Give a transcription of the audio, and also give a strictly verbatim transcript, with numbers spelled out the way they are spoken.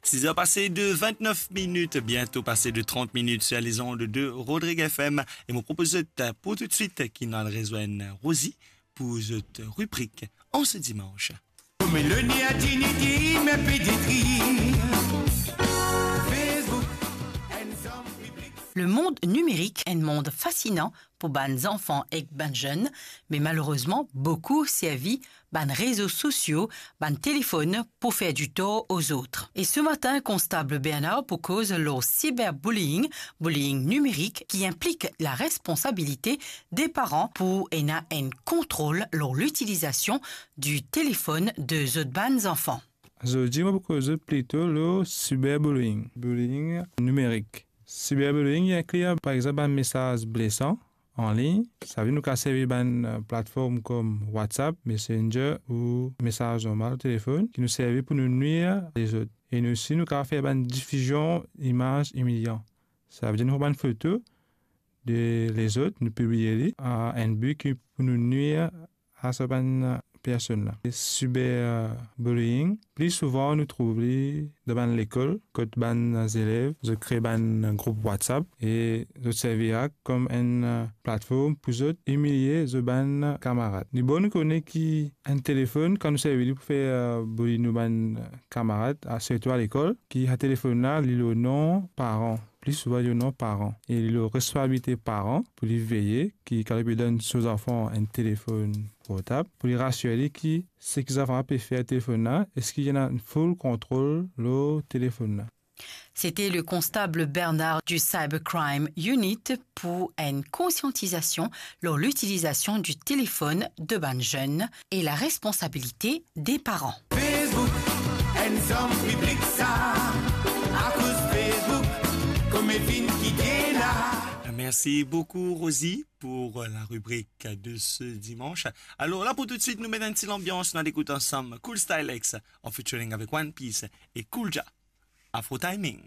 Siz er pase de vintnef minit, biento pase de trant minit sur les ondes de Rodrigue F M. E mo propoz zot pou toutswit ki nou al rezwenn Rosie pou zot ribrik An se dimanz. Meloni a dignity, me peditri. Facebook, enn zom piblik. Le monde numérique, un monde fascinant pour bann zanfan ek bann zenn, me malerezman, boukou servi bann rezo sosio, bann telefonn pou fer ditor ozot. E se matin, Konstab Bernard pou koz lor cyberbullying, bullying nimerik, ki inplik laresponsabilite de paran pou ena enn kontrol lor litilizasion di telefonn de zot bann zanfan. Zordi, mo pou koz plito lor cyberbullying, bullying nimerik. Cyberbullying, li inkli, par exanp, bann mesaz blesan an lign. Savedir nou kapav servi bann, eh, platform kom WhatsApp, Messenger ou mesaz normal telefonn ki nou servi pou nou nwir lezot. E nou osi, nou kapav fer bann difizion imaz imilian. Savedir nou pran bann foto de lezot, nou pibliye li a enn bi ki pou nou nwir a sa bann personn la. Cyberbullying, pli souvan nou trouv li dan bann lekol, kot bann zelev, zot kre bann group WhatsApp e zot servi ak kom enn, eh, platform pou zot imilie zot bann kamarad. Li bon nou kone ki enn telefonn, kan nou servi li pou fer, eh, bully nou bann kamarad, a, sirtou a lekol, ki sa telefonn la, li lor non paran. Pli souvan, li lor non paran. E li lor responsabilite paran pou li veye ki kan li pe donn so zanfan enn telefonn portab, pou li rasir li ki seki zanfan la pe fer telefonn la, eski li ena full kontrol lor telefonn la. C'était le constable Bernard du Cybercrime Unit pour une conscientisation lor l'utilisation du téléphone de bann zenn e la responsabilité des parents. Facebook, enn zom piblik sa, akoz Facebook, kouma finn kite la. Merci beaucoup, Rosie, pour la rubrique de ce dimanche. Alors là, pour tout de suite, nou met enn ti lanbians, nou al ekout ansam Cool Style X en featuring avec One Piece et Cool Jah. Afro Timing.